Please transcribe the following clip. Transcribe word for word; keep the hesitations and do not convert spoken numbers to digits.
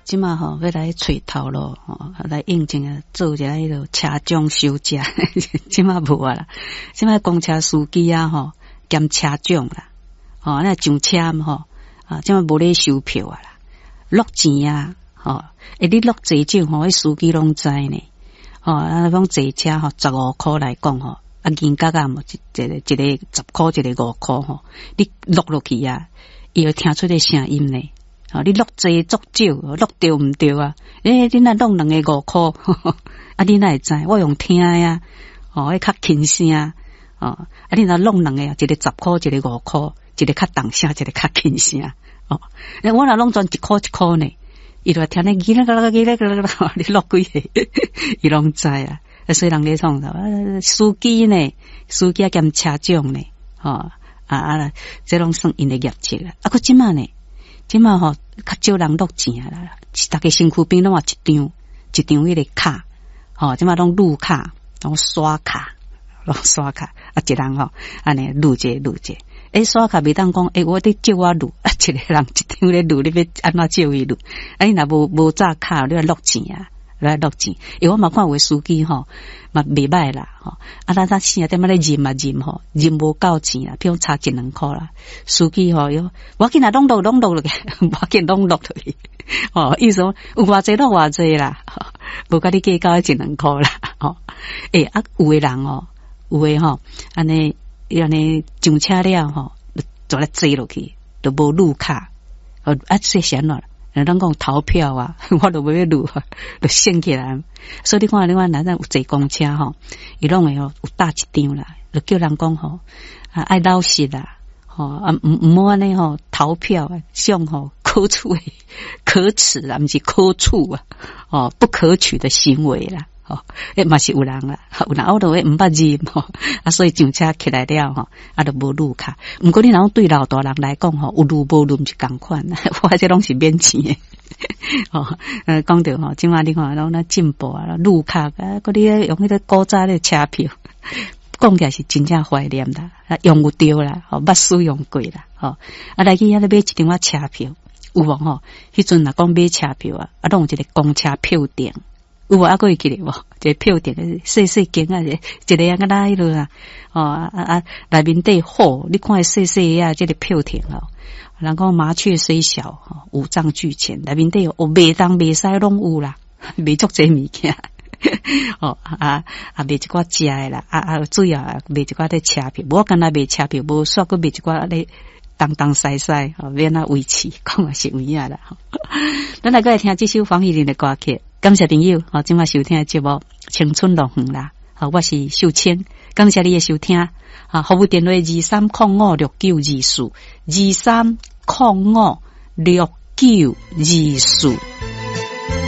這馬吼欲來揣頭路吼，來應徵啊，做一下彼落車長小姐，這馬無啊啦。這馬公車司機啊吼，兼車長啦，吼，那上車吼，啊，這馬無咧收票啊啦，落錢啊，吼，欸，你落濟少吼，彼司機攏知呢，吼，啊，講坐車吼，十五箍來講吼，啊，銀角仔無一一個一個十箍，一個五箍吼，你落落去啊，伊會聽出個聲音呢。吼，你落濟足少，落著毋著啊？欸，你若落兩个五箍，啊，你哪會知？我用聽的啊，吼，彼較輕聲，吼，啊，你若落兩個，一個十箍，一個五箍，一個較重聲，一個較輕聲，哦，我若攏全一箍一箍呢，伊就聽咧，嘰啦啦嘰啦啦啦，你落幾个，伊攏知啊。所以人咧創啥？司機呢？司機兼車長呢？吼，啊啊，這攏算𪜶的業績啦。啊，閣這馬呢？這馬吼較少人落錢啊啦，逐家身軀邊攏有一張一張彼个卡，吼，這馬攏擼卡，攏刷卡，攏刷卡，啊，一人吼，按呢擼一个擼一个，欸，刷卡袂當講，欸，我你借我擼，啊，一个人一張咧擼，你欲按怎借伊擼？啊，你若無無紮卡，你愛落錢啊，來落錢。欸，我嘛看有的司機吼，嘛袂䆀啦，吼，啊，咱咱四仔點仔咧認嘛認吼，認無夠錢啦，譬如差一兩箍啦，司機吼喲，無要緊啦，攏落攏落落去，無要緊攏落落去，吼，意思講有偌濟落偌濟啦，無共你計較彼一兩箍啦，吼，欸，啊，有的人哦，有的吼，按呢，按呢上車了吼，就來坐落去，就無擼卡，哦，啊，這是按怎？人講逃票啊，我都無欲擼，就省起來。所以你看，你看，咱有坐公車吼，伊攏會吼有貼一張啦，就叫人講吼，啊愛老實啦，吼啊毋毋好按呢吼逃票啊，這種吼可取可恥啦，毋是可取啊，哦不可取的行為啦，吼，欸嘛是有人啦，有人我都會毋捌認吼，啊所以上車起來了吼，啊就無擼卡。毋過你若講對老大人來講吼，有擼無擼毋是仝款，我這攏是免錢的。吼，呃，講著吼，這馬你看攏咧進步啊，擼卡啊，閣你用彼個古早的車票，講起來是真正懷念啦，啊，用有著啦，吼，捌使用過啦，吼，啊來去遐咧買一張仔車票，有無吼？彼陣若講買車票啊，啊，攏有一個公車票店，有無？猶閣會記得無？一個票店，細細間啊，一個啊，敢若彼落啊，吼啊啊，內面底好，你看細細啊，這個票亭吼。人講麻雀雖小，五臟俱全，內面底有賣東賣西攏有啦，賣足濟物件。哦啊啊，賣一寡食的啦，啊啊，主要賣一寡咧車票，無干焦賣車票，無煞閣賣一寡咧東東西西，吼，欲按怎維持，講也是有影啦。咱來閣來聽這首黃乙玲的歌曲，感謝朋友，吼，這馬收聽的節目《青春樂園》啦，好，我是秀清，感謝你的收聽。啊，服務電話二三空五六九二四，二三空五六九二四。